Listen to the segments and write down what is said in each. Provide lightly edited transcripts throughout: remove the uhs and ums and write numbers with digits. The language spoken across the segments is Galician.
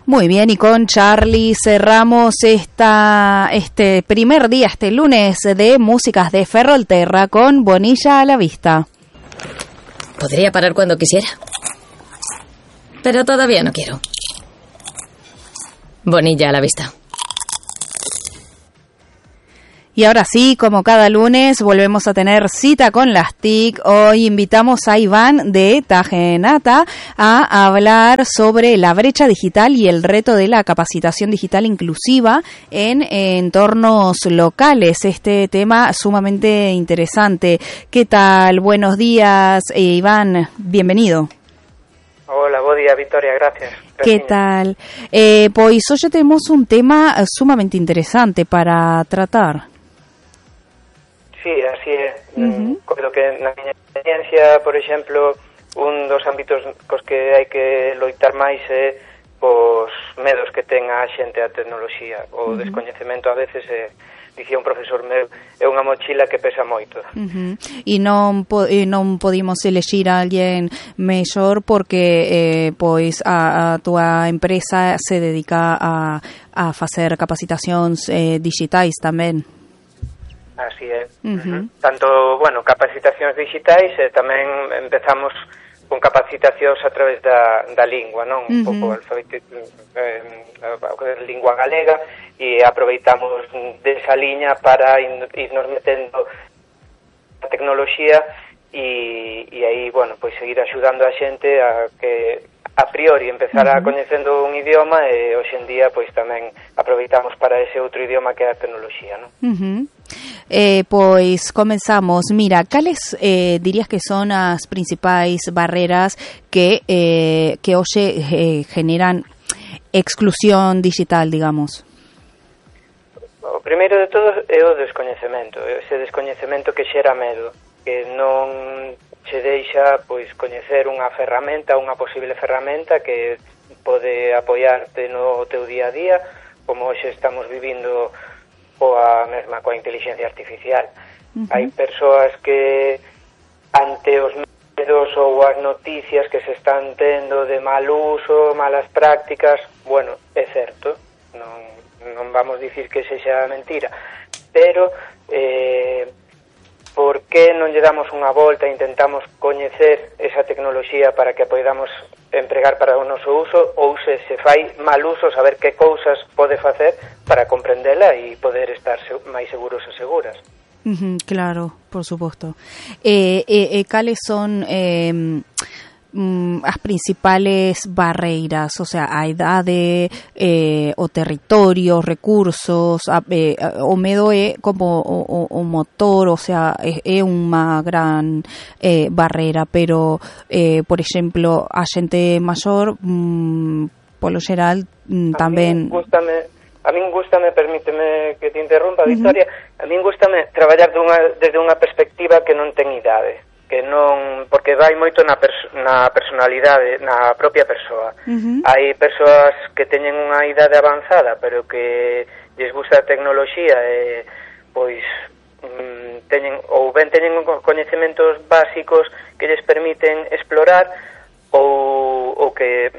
Muy bien, y con Charly cerramos este primer día, este lunes, de Músicas de Ferrolterra con Bonilla a la vista. Podría parar cuando quisiera, pero todavía no quiero. Bonilla a la vista. Y ahora sí, como cada lunes, volvemos a tener cita con las TIC. Hoy invitamos a Iván de Tajenata a hablar sobre la brecha digital y el reto de la capacitación digital inclusiva en entornos locales. Este tema sumamente interesante. ¿Qué tal? Buenos días, Iván. Bienvenido. Hola, bo día, Victoria, gracias. ¿Qué tal? Pois hoxe temos un tema sumamente interesante para tratar. Sí, así é. Coido que na miña experiencia, por exemplo, un dos ámbitos cos que hai que loitar máis é os medos que ten a xente a tecnoloxía. O descoñecemento a veces dicía un profesor meu, é unha mochila que pesa moito. E non podimos elexir a alguén mellor porque pois a túa empresa se dedica a facer capacitacións digitais tamén. Así é. Tanto, capacitacións digitais e tamén empezamos con capacitacións a través da lingua, non? Un pouco lingua galega, e aproveitamos desa liña para irnos metendo a tecnoloxía e aí, pois seguir axudando a xente a que a priori empezara coñecendo un idioma e hoxe en día pois tamén aproveitamos para ese outro idioma que é a tecnoloxía, non? Pois comenzamos. Mira, cales dirías que son as principais barreras que hoxe generan exclusión digital, digamos? O primeiro de todo é o descoñecemento, ese descoñecemento que xera medo, que non che deixa pois coñecer unha ferramenta, unha posible ferramenta que pode apoiarte no teu día a día, como hoxe estamos vivindo coa inteligencia artificial. Hai persoas que ante os medos ou as noticias que se están tendo de mal uso, malas prácticas, é certo, non vamos dicir que sexa mentira, pero por que non lle damos unha volta e intentamos coñecer esa tecnoloxía para que a podamos empregar para o noso uso, ou se fai mal uso, saber que cousas pode facer para comprendela e poder estar máis seguros e seguras. Claro, por suposto. Cales son as principales barreiras, o sea, a idade, o territorio, recursos, o medo é como o motor, o sea, é unha gran barreira, pero, por exemplo, a xente maior, polo xeral, tamén... A min gústame, permíteme que te interrumpa, Victoria, a min gústame traballar desde unha perspectiva que non ten idade, que non, porque vai moito na personalidade, na propia persoa. Hai persoas que teñen unha idade avanzada, pero que lles gusta a tecnoloxía e pois teñen coñecementos básicos que lles permiten explorar ou que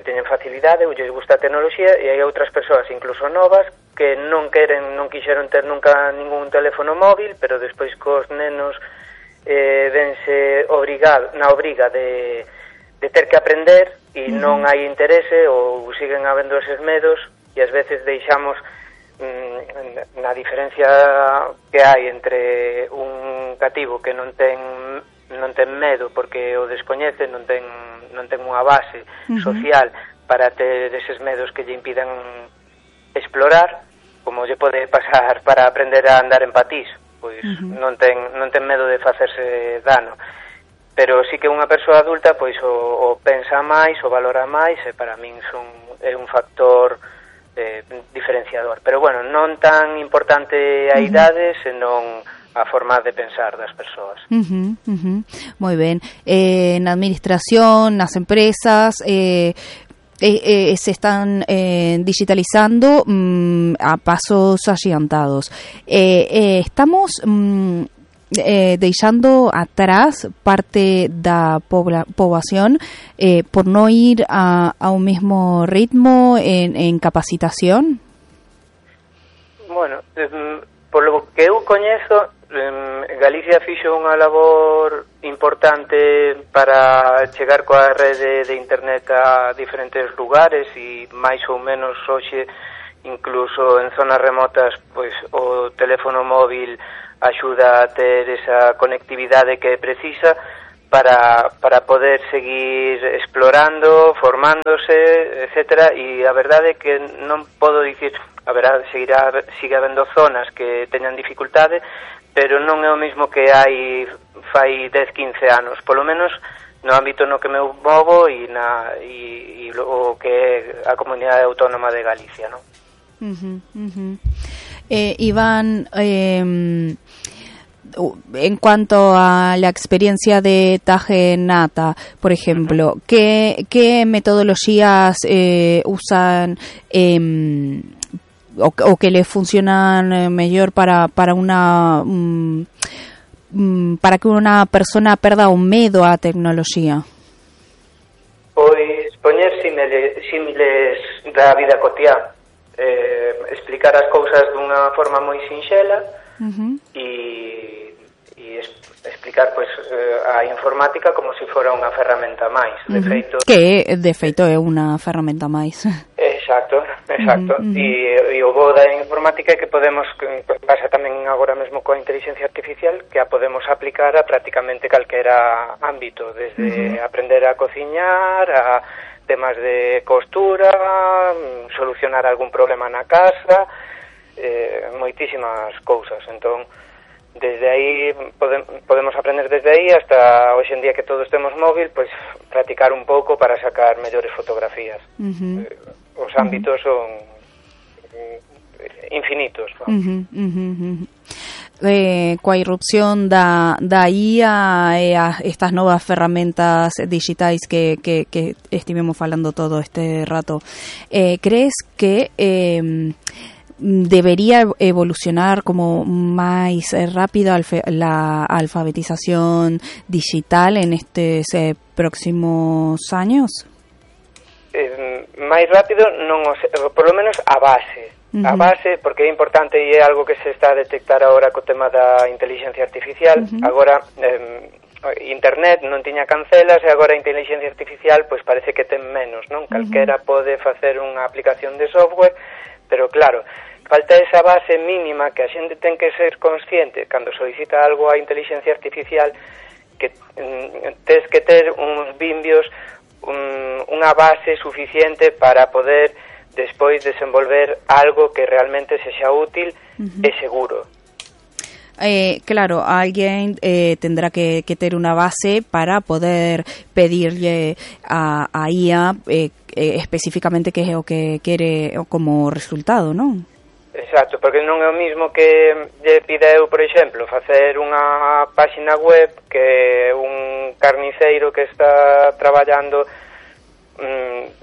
teñen facilidade ou lles gusta a tecnoloxía, e hai outras persoas incluso novas que non quixeron ter nunca ningún teléfono móvil, pero despois cos nenos vense na obriga de ter que aprender e non hai interese ou siguen habendo eses medos, e ás veces deixamos na diferencia que hai entre un cativo que non ten medo porque o descoñece, non ten unha base social para ter eses medos que lle impidan explorar, como lle pode pasar para aprender a andar en patís, pois non ten medo de facerse dano. Pero sí que unha persoa adulta pois o pensa máis, o valora máis, e para min é un factor diferenciador. Pero non tan importante a idade, senón a forma de pensar das persoas. Moi ben. Na administración, nas empresas, se están digitalizando a pasos agigantados. Estamos deixando atrás parte da poboación por no ir a un mismo ritmo en capacitación? Bueno, polo que eu coñezo, Galicia fixo unha labor importante para chegar coa rede de internet a diferentes lugares e máis ou menos hoxe incluso en zonas remotas pois o teléfono móvil axuda a ter esa conectividade que precisa para poder seguir explorando, formándose, etcétera, e a verdade é que non podo dicir, sigue habendo zonas que teñan dificultade, pero non é o mismo que hai fai 10-15 anos, polo menos no ámbito no que me movo e o que é a Comunidade Autónoma de Galicia, non? Iván, en cuanto a la experiencia de Taje Nata, por ejemplo, ¿qué metodologías usan o que le funcionan mejor para que una persona perda un miedo a tecnología? Pois poñer símiles da vida cotiá, explicar as cousas dunha forma moi sinxela e explicar pois a informática como se fora unha ferramenta máis. De feito, que de feito é unha ferramenta máis. Exacto. E o bo da informática é que podemos, pasa tamén agora mesmo coa inteligencia artificial, que a podemos aplicar a prácticamente calquera ámbito, desde aprender a cociñar, a temas de costura, solucionar algún problema na casa, moitísimas cousas. Entón, desde aí podemos aprender desde aí hasta hoxe en día que todos temos móvil, pois practicar un pouco para sacar mellores fotografías. Os ámbitos son infinitos. Coa irrupción da IA e estas novas ferramentas digitais que estivemos falando todo este rato, crees que debería evolucionar como máis rápido la alfabetización digital en estes próximos años? Máis rápido non, por lo menos a base, porque é importante e é algo que se está a detectar agora co tema da inteligencia artificial. Agora internet non tiña cancelas e agora a inteligencia artificial pois parece que ten menos, non? Calquera pode facer unha aplicación de software, pero claro, falta esa base mínima que a xente ten que ser consciente cando solicita algo a inteligencia artificial, que tes que ter uns vimbios, unha base suficiente para poder despois desenvolver algo que realmente sexa útil e seguro. Claro, alguien tendrá que ter unha base para poder pedirle a IA específicamente que é o que quere como resultado, non? Exacto, porque non é o mismo que lle pida eu, por exemplo, facer unha páxina web que un carniceiro que está traballando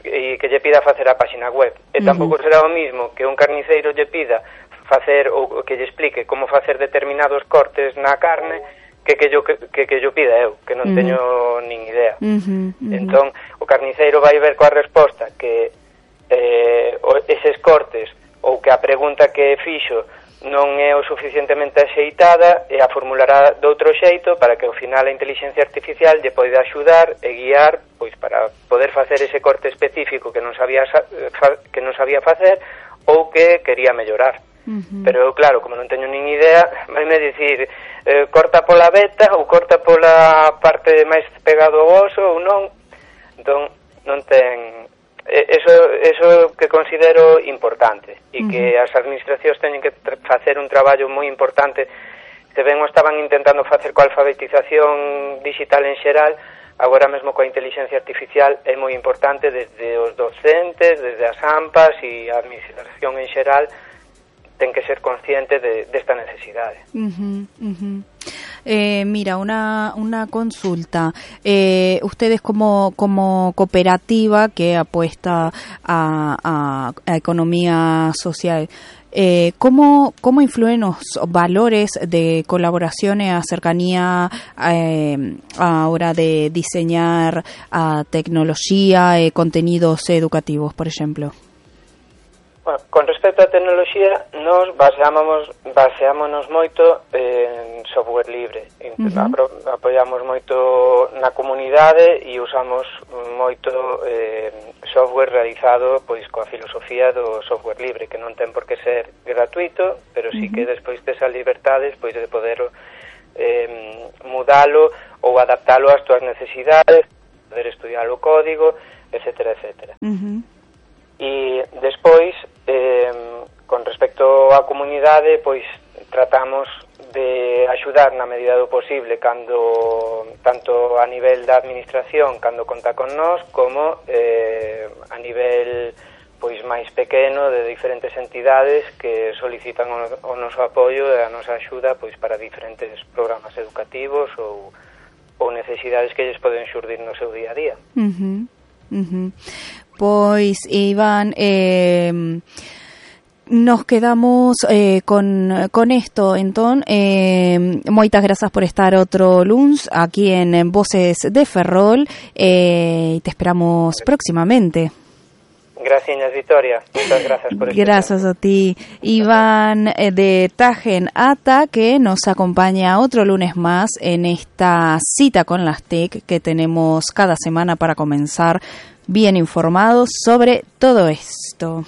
e que lle pida facer a páxina web. E tampouco será o mismo que un carniceiro lle pida facer ou que lle explique como facer determinados cortes na carne que yo pida eu, que non teño nin idea. Entón, o carniceiro vai ver coa resposta que eses cortes ou que a pregunta que fixo non é o suficientemente axeitada e a formulará de outro xeito para que ao final a inteligencia artificial lle poida axudar e guiar pois para poder facer ese corte específico que non sabía facer ou que quería mellorar. Pero claro, como non teño nin idea, vaime dicir corta pola veta ou corta pola parte máis pegado ao oso ou non. Entón, non ten... Eso que considero importante e que as administracións teñen que facer un traballo moi importante. Se ben o estaban intentando facer coa alfabetización digital en xeral, agora mesmo coa inteligencia artificial é moi importante desde os docentes, desde as AMPAs e a administración en xeral ten que ser consciente desta necesidade. Mira, una consulta. Ustedes como cooperativa que apuesta a economía social, ¿Cómo influyen los valores de colaboración y a cercanía a hora de diseñar tecnología y contenidos educativos, por ejemplo? Bueno, con respecto á tecnoloxía, nos baseámonos moito en software libre. Apoiamos moito na comunidade e usamos moito software realizado pois coa filosofía do software libre, que non ten por que ser gratuito, pero sí que despois tes a liberdade pois de poder mudalo ou adaptalo ás túas necesidades, poder estudiar o código, etcétera, etcétera. E despois, con respecto á comunidade, pois tratamos de axudar na medida do posible cando tanto a nivel da administración cando conta con nós como a nivel pois máis pequeno de diferentes entidades que solicitan o noso apoio e a nosa axuda pois para diferentes programas educativos ou necesidades que lles poden xurdir no seu día a día. Pois, Iván, nos quedamos con esto, entón, moitas grazas por estar outro luns aquí en Voces de Ferrol, te esperamos próximamente. Gracias, Victoria. Muchas gracias por este Gracias tiempo. A ti. Iván de Tagen Ata, que nos acompaña otro lunes más en esta cita con las TIC que tenemos cada semana para comenzar bien informados sobre todo esto.